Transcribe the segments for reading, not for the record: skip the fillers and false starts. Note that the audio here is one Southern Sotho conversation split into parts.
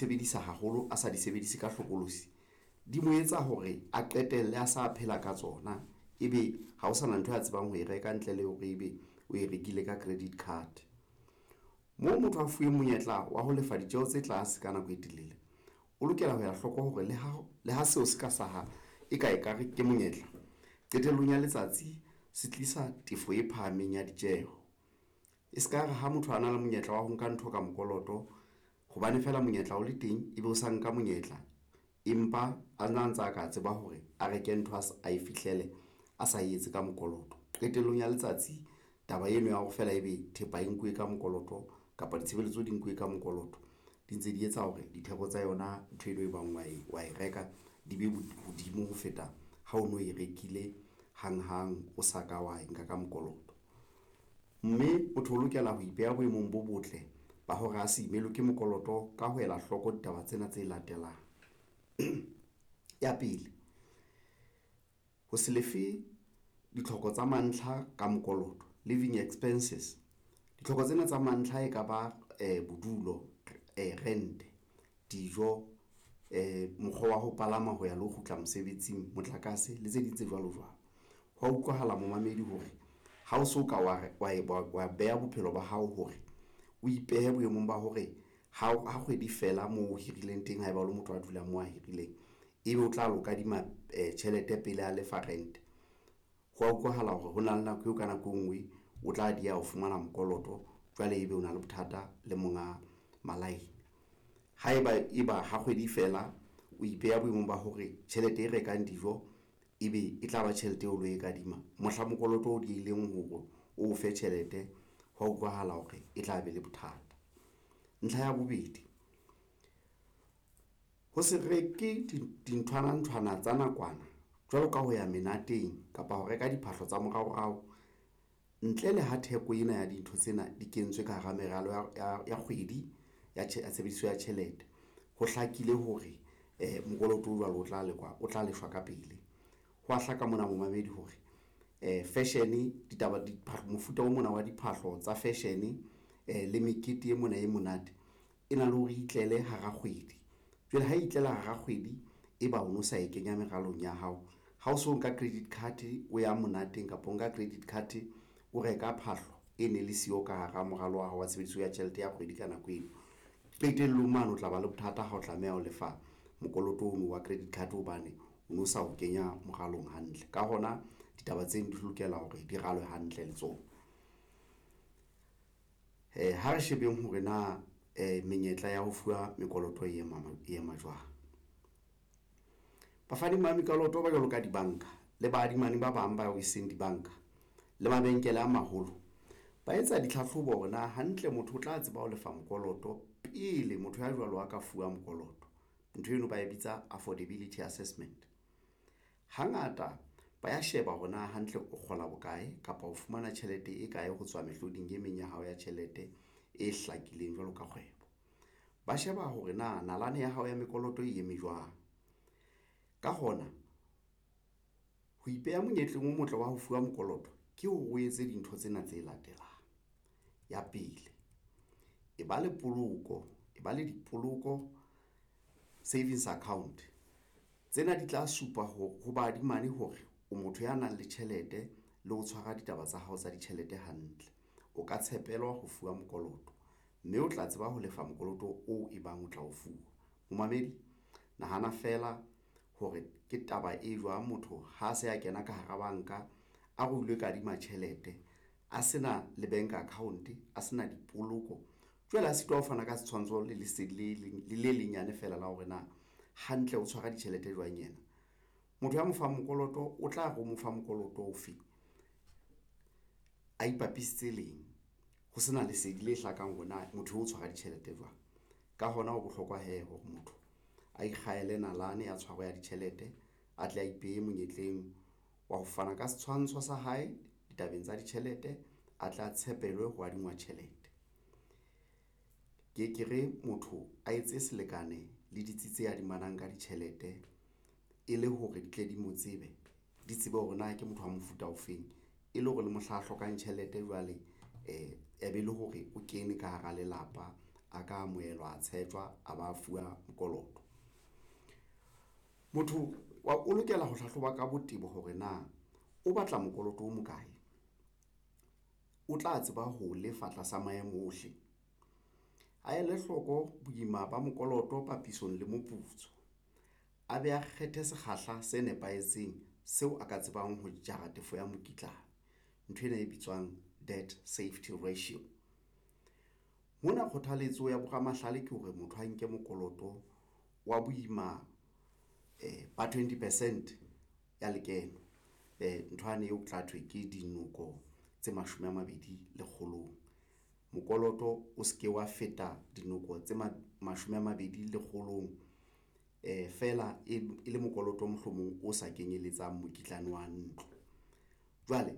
sebedisa haholo, a sa di sebedise ka hlokolosi, di mo etsa hore a qetelle a sa phela ka tsona, ebe ha ho sana ntho a tsebang ho e reka ntle le hore ebe o e rekile ka credit card. Moo motho a fuweng monyetla wa ho lefa ditjeho tse tlase ka nako e telele, o lokela ho ela hloko hore le ha seo se ka hlaha e ka ekare ke monyetla qetellong ya letsatsi se tlisa tefo e phahameng ya ditjeho. E se ka re ha motho a na le monyetla wa ho nka ntho ka mokoloto hobane feela monyetla o le teng, ebe o sa nka monyetla, empa a na ntsa ka tseba hore a reke ntho a e fihlele a sa etse ka mokoloto. Qetellong ya letsatsi taba eno ya hore feela ebe thepa e nkuwe ka mokoloto kapa ditshebeletso di nkuwe ka mokoloto di ntse di etsa hore ditheko tsa yona ntho eno e bang wa e reka di be hodimo ho feta ha o no e rekile hanghang, o sa ka wa e nka ka mokoloto. Mme motho o lokela ho ipeha boemong bo botle ba hore a se imelwe ke mokoloto ka ho ela hloko ditaba tsena tse latelang. Ya pele, ho se lefe ditlhoko tsa mantlha ka mokoloto, living expenses. Ditlhoko tsena tsa mantlha e ka ba bodulo, rent, dijo, mokgwa wa ho palama ho ya le ho kgutla mosebetsing, motlakase le tse ding tse jwalo jwalo. Hwa utlwahala momamedi hore ha o so ka wa beha bophelo ba hao hore o ipehe boemong ba hore ha kgwedi fela moo o hirileng teng, haeba o le motho a dulang moo a hirileng, ebe o tla lo kadima tjhelete pele a lefa rent. Ho wa utlwahala hore hona le nako eo ka nako e nngwe o tla dieha ho fumana mokoloto, jwale ebe o na le bothata le monga malaene. Haeba eba ha kgwedi fela o ipeha boemong ba hore tjhelete e rekang dijo ebe e tla ba tjhelete eo o lo e kadima mohla mokoloto o diehileng hore o fe tjhelete, hwa utlwahala hore e tla be le bothata. Ntlha ya bobedi, ho se reke dinthwana nthwana tsa nakwana jwalo ka ho ya menateng kapa ho reka diphahlo tsa moraorao ntle le ha theko ena ya dintho tsena di kentswe ka hara meralo ya kgwedi ya tshebediso ya tjhelete. Ho hlakile hore mokoloto o jwalo o tla lekwa, o tla lefshwa ka pele. Ho a hlaka mona momamedi hore fashion ditaba di mofuta o mona wa diphahlo tsa fashion le mekete e mona e monate e na le hore itlele hara kgwedi. Jwale ha e itlela hara kgwedi, e ba o no sa e kenya meralong ya hao, ha o so nka credit card o ya monateng kapa o nka credit card o reka phahlo e ne le siyo ka hara moralo wa hao wa tshebediso ya tjhelete ya kgwedi ka nako eno, qetellong mane o tla ba le bothata ha o tlameha ho lefa mokoloto ono wa credit card hobane o no sa o kenya moralong hantle. Ka hona ditaba tseno di lokela hore di ralwe hantle le tsona. Ha re shebeng hore na menyetla ya ho fuwa mekoloto e ema jwang. Bafani ba mekoloto ba jwalo ka dibanka le baadimani ba bang bao e seng dibanka le mabenkele a maholo ba etsa ditlhahlobo hore na hantle motho o tla tseba ho lefa mokoloto pele motho ya jwalo a ka fuwa mokoloto. Ntho eno ba e bitsa affordability assessment. Hangata ba ya sheba hore na hantle o kgola bokae kapa o fumana tjhelete e kae ho tswa mehloding e meng ya hao ya tjhelete e hlakileng jwalo ka kgwebo. Ba sheba hore na nalane ya hao ya mekoloto e eme jwang. Ka hona ho ipeha monyetleng o motle wa ho fuwa mokoloto ke hore o etse dintho tsena tse latelang. Ya pele, e ba le poloko, e ba le dipoloko savings account. Tsena di tla supa ho baadimane hore o motho ya nang le tjhelete le ho tshwara ditaba tsa hao tsa ditjhelete hantle. O ka tshepelwa ho fuwa mokoloto, mme o tla tseba ho lefa mokoloto oo e bang o tla o fuwa. Momamedi, nahana feela hore ke taba e jwang motho ha se a kena ka hara banka, a re o ilo kadima tjhelete, a sena le bank account, a sena dipoloko, jwale a sitwa ho fana ka setshwantsho le lesedi le le lenyane feela la hore na hantle o tshwara ditjhelete jwang yena. Motho ya mo fang mokoloto o tla re o mo fa mokoloto ofe, a ipapisitse leng, ho sena lesedi le hlakang hore na motho o tshwara ditjhelete jwang. Ka hona ho bohlokwa hee hore motho a ikgahele nalane ya tshwaro ya ditjhelete, a tle a ipehe monyetleng wa ho fana ka setshwantsho sa hae ditabeng tsa ditjhelete, a tle a tshepelwe ho adingwa tjhelete. Ke re motho a etse selekane le ditsi tse adimanang ka ditjhelete e le hore di tle di mo tsebe, di tsebe hore na ke motho wa mofuta ofeng, e le hore le mohla a hlokang tjhelete jwale e be le hore o kene ka hara lelapa. a ka amohelwa, a tshetjwa, a ba fuwa mokoloto. Motho o lokela ho hlahloba ka botebo hore na o batla mokoloto o mokae, o tla tseba ho lefa tlasa maemo ohle. A ele hloko boima ba mokoloto papisong le moputso, a be a kgethe sekgahla se nepahetseng seo a ka tsebang ho jara tefo ya mokitlane, nthwena e bitswang debt safety ratio. Mona kgothaletso ya boramahlale ke hore motho a nke mokoloto wa boima ba 20 percent ya lekeno, nthwane eo tla thwe ke dinoko tse 20 lekgolong. Mokoloto o se ke wa feta dinoko tse 20 lekgolong feela e le mokoloto mohlomong o sa kenyelletsang mokitlane wa ntlo. Jwale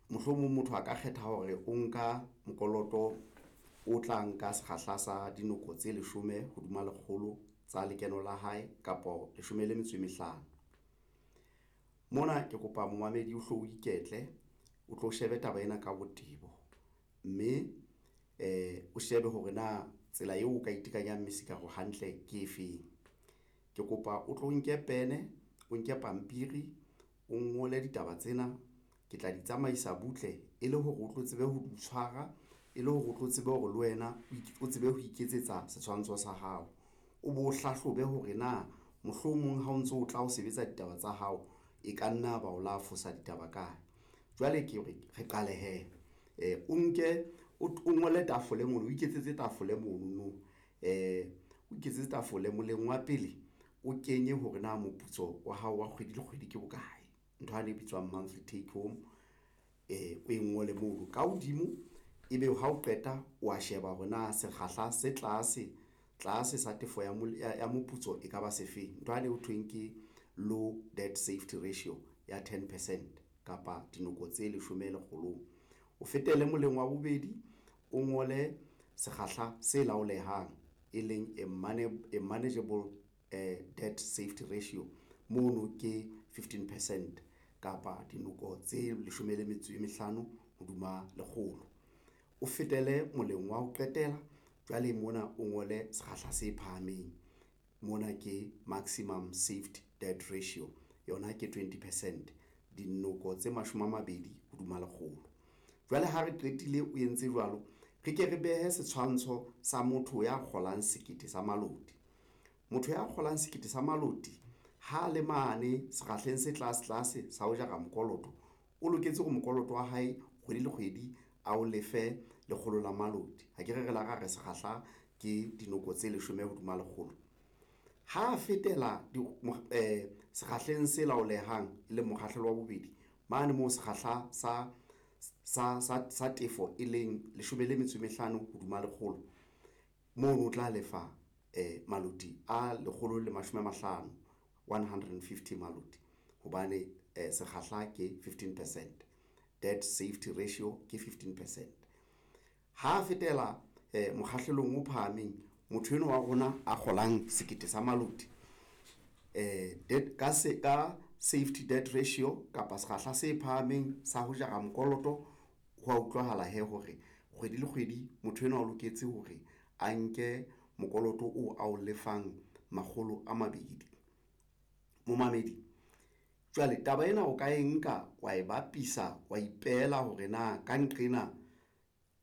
mohlomong motho a ka kgetha hore o nka mokoloto o tla nka sekgahla sa dinoko tse 10 hodima lekgolo tsa lekeno la hae kapa 15. Mona ke kopa momamedi o hlo o iketle, o tlo shebe taba ena ka botebo, mme o shebe hore na tsela eo o ka itekanyang mesikaro hantle ke efeng. Ke kopa o tlo nke pene, o nke pampiri, o ngole ditaba tsena ke tla di tsamaisa butle e le hore o tlo tsebe ho di tshwara, e le hore o tlo tsebe hore le wena o tsebe ho iketsetsa setshwantsho sa hao, o bo hlahlobe hore na mohlomong ha o ntso o tla o sebetsa ditaba tsa hao, e ka nna ba o la fosa ditaba kae. Jwale ke re re qale hee o nke o ngole tafole mono, o iketsetse tafole monono, o iketsetse tafole moleng wa pele, o kenye hore na moputso wa hao wa kgwedi le kgwedi ke bokae, ntho yane e bitswang monthly take home, o e ngole mono ka hodimo, ebe ha o qeta wa sheba hore na sekgahla se tlase tlase sa tefo ya moputso e kaba se feng, ntho yane ho thweng ke low debt safety ratio ya 10 percent kapa dinoko tse 10 lekgolong. O fetele moleng wa bobedi, o ngole sekgahla se laolehang, e leng a manageable debt safety ratio mono ke 15 percent kapa dinoko tse 15 hodima lekgolo. O fetele moleng wa ho qetela jwale mona o ngole sekgahla se phahameng, mona ke maximum safety debt ratio yona ke 20 percent, dinoko tse 20 hodima lekgolo. Jwale ha re qetile o entse jwalo, re ke re behe setshwantsho sa motho ya kgolang sekete sa maloti. Motho ya kgolang sekete sa maloti ha le mane sekgahleng se tlase tlase sa ho jara mokoloto, o loketse hore mokoloto wa hae kgwedi le kgwedi a o lefe 100 la maloti. Ha ke re re la ra re sekgahla ke dinoko tse 10 hodima lekgolo. Ha a fetela sekgahleng se laolehang e leng mokgahlelo wa bobedi, mane moo sekgahla sa tefo e leng 15 hodima lekgolo, mono o tla lefa maloti a 150, 150 maloti hobane sekgahla ke 15 percent, debt safety ratio ke 15 percent. Ha fetela mokgahlelong o phahameng, motho enwa wa rona a kgolang sekete sa maloti ka safety debt ratio kapa sekgahla se phahameng sa ho jara mokoloto, ho a utlwahala hee hore kgwedi le kgwedi motho enwa o loketse hore a nke mokoloto oo ao lefang 200. Momamedi jwale taba ena o ka e nka wa e bapisa, wa ipehela hore na ka nqena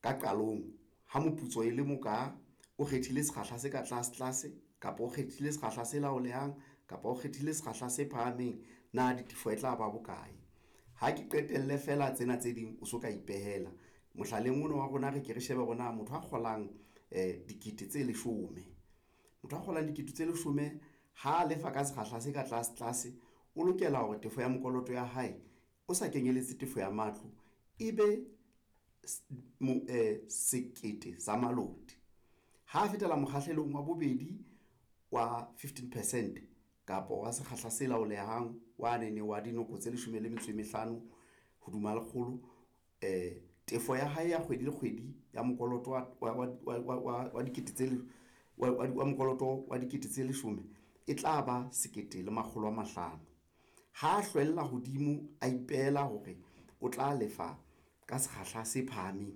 ka qalong ha moputso e le moka, o kgethile sekgahla se ka tlase tlase kapa o kgethile sekgahla se laolehang kapa o kgethile sekgahla se phahameng, na ditefo e tla ba bokae. Ha ke qetelle feela tsena tse ding o so ka ipehela mohlaleng ona wa rona, re ke re shebe hore na motho a kgolang dikete tse 10, motho a kgolang dikete tse 10 ha lefa ka sekgahla se ka tlase tlase, o lokela hore tefo ya mokoloto ya hae o sa kenyelletse tefo ya matlo e be sekete sa maloti. Ha fetela mokgahlelong wa bobedi wa 15 percent kapa wa sekgahla se laolehang wa nene wa dinoko tse 15 hodima lekgolo, tefo ya hae ya kgwedi le kgwedi ya mokoloto wa dikete tse wa mokoloto wa dikete tse 10 e tla ba sekete le 500. Ha hlwella hodimo, a ipehela hore o tla lefa ka sekgahla se phahameng,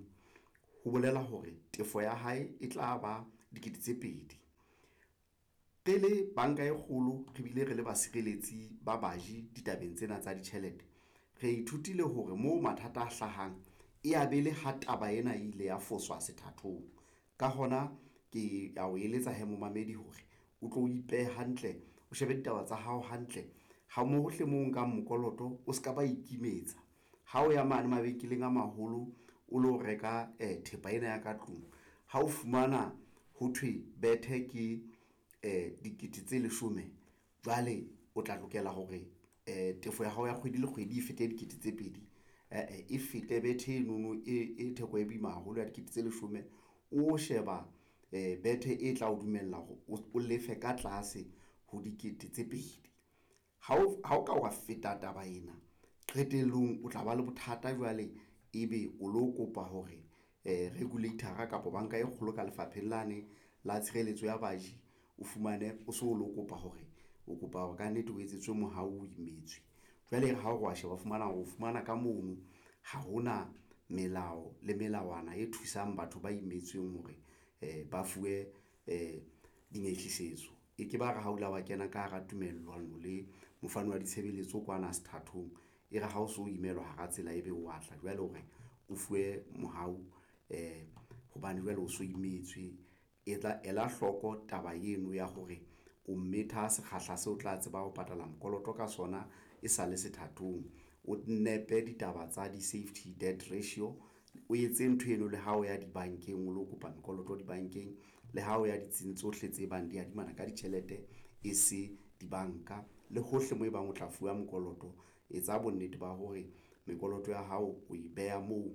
Ho bolela hore tefo ya hae e tla ba dikete tse 2. Re le banka e kgolo, re bile re le basireletsi ba baji ditabeng tsena tsa ditjhelete, re ithutile hore moo mathata a hlahang e ya be le ha taba ena e ile ya foswa sethathong. Ka hona ke ya o eletsa hee momamedi hore o tlo ipehe hantle, o shebe ditaba tsa hao hantle ha mo hohle moo o nkang mokoloto o ska ba ikimetsa. Ha o ya mane mabenkeleng a maholo, o lo reka thepa ena ya ka tlung, ha o fumana ho thwe bethe ke dikete tse 10, jwale o tla lokela hore tefo ya hao ya kgwedi le kgwedi e fete dikete tse 2, e fete bethe enono e theko e boima haholo ya dikete tse 10. O sheba bethe e tla o dumella hore o lefe ka tlase ho dikete tse 2. Ha o ka wa feta taba ena, qetellong o tla ba le bothata jwale ebe o lo kopa hore regulator kapa banka e kgolo ka lefapheng lane la tshireletso ya baji, o fumane o so lo kopa hore o kopa hore kannete o etsetswe mohau o imetswe. Jwale e re ha o re wa sheba, o fumana hore o fumana ka mono ha hona melao le melawana e thusang batho ba imetsweng hore ba fuwe dinyehlisetso. E ke ba re ha o la wa kena ka hara tumellano le mofani wa ditshebeletso kwana sethathong, e re ha o so imelwa hara tsela, ebe wa tla jwale hore o fuwe mohau hobane jwale o so imetswe. E tla ela hloko taba eno ya hore o metha sekgahla seo o tla tseba ho patala mokoloto ka sona e sale sethathong. O nepe ditaba tsa di-safety debt ratio, o etse ntho eno le ha o ya dibankeng, o lo kopa mekoloto dibankeng, le ha o ya ditsing tsohle tse bang di adimanang ka ditjhelete, e se dibanka le hohle moo ebang o tla fuwa mokoloto. Etsa bonnete ba hore mekoloto ya hao o e beha moo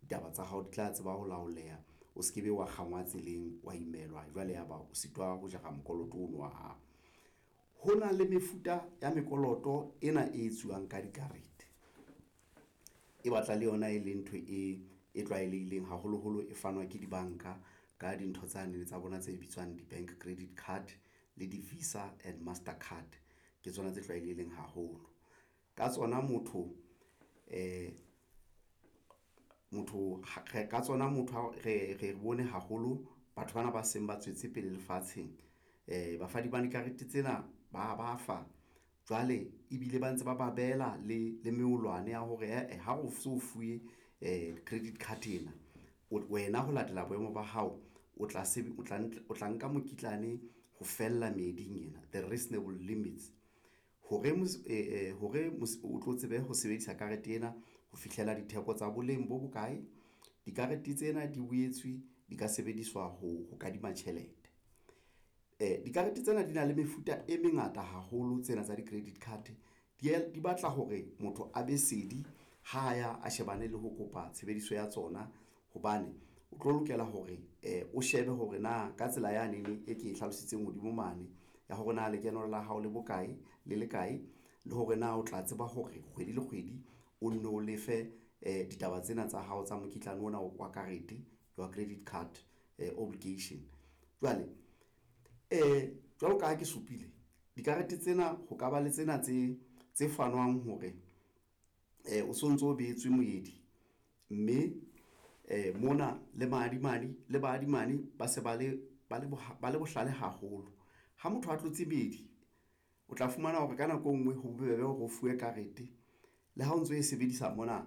ditaba tsa hao di tla tseba ho laoleha, o se ke be wa kgangwa tseleng, wa imelwa jwale ya ba o sitwa ho jara mokoloto ono wa hao. Ho na le mefuta ya mekoloto ena e etsuwang ka dikarete, e batla le yona e le ntho e tlwaelehileng haholoholo e fanwa ke dibanka ka dintho tsane tsa bona tse bitswang di-bank credit card le di-Visa and Master card, ke tsona tse tlwaelehileng haholo. Ka tsona motho motho ka tsona motho re bone haholo batho bana ba seng ba tswetse pele lefatsheng. Bafani ba dikarete tsena ba ba fa jwale ebile ba ntse ba ba behela le melawana ya hore ae ha o so fuwe credit card ena, wena ho latela boemo ba hao, o tla o tla nka mokitlane ho fella meeding ena, the reasonable limits hore hore o tlo tsebe ho sebedisa karete ena ho fihlela ditheko tsa boleng bo bokae. Dikarete tsena di boetswe di ka sebediswa ho kadima tjhelete. Dikarete tsena di na le mefuta e mengata haholo tsena tsa di-credit card di batla hore motho a be sedi ha ya a shebane le ho kopa tshebediso ya tsona hobane o tlo lokela hore o shebe hore na ka tsela yane e ke e hlalositseng hodimo mane ya hore na lekeno la hao le bokae le le kae, le hore na o tla tseba hore kgwedi le kgwedi o nno o lefe ditaba tsena tsa hao tsa mokitlane ona wa karete wa credit card obligation. Jwale jwalo ka ha ke supile dikarete tsena, ho ka ba le tsena tse fanwang hore o sontso o behetswe moedi, mme mona le baadimani le baadimani ba se ba le ba le bohlale haholo. Ha motho a tlotse meedi, o tla fumana hore ka nako e nngwe ho bobebe hore o fuwe karete le ha o ntso e sebedisa mona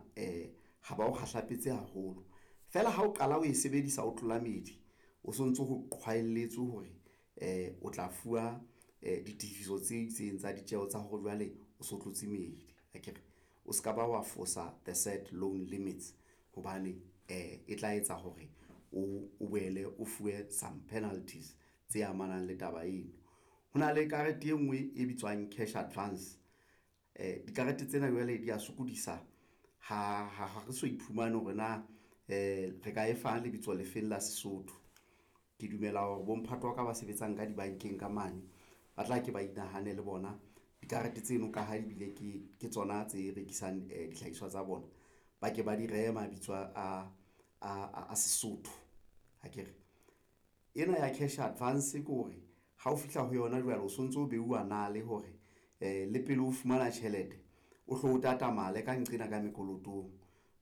ha ba o kgahlapetse haholo feela ha o qala o e sebedisa, o tlola meedi, o sontso ho qhwaelletswe hore o tla fuwa ditefiso tse itseng tsa ditjeho tsa hore jwale o so tlotse meedi akere o se ka ba wa fosa the said loan limits hobane e tla etsa hore o boele o fuwe some penalties tse amanang le taba eno. Ho na le karete e nngwe e bitswang cash advance. Dikarete tsena jwale di ya sokodisa ha re so iphumane hore na re ka e fang lebitso le feng la Sesotho. Ke dumela hore bomphato wa ka ba sebetsang ka dibankeng ka mane ba tla ke ba inahane le bona dikarete tseno ka ha ebile ke tsona tse rekisang dihlahiswa tsa bona, ba ke ba di rehe mabitso a Sesotho akere. Ena ya cash advance ke hore ha o fihla ho yona jwale o sontso o beuwa nale hore le pele o fumana tjhelete, o hlo o tatamale ka nqena ka mekolotong.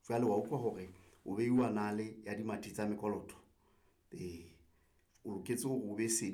Jwale wa utlwa hore O beiwa nale ya dimathi tsa mekoloto. Ee, o loketse hore o be sedi.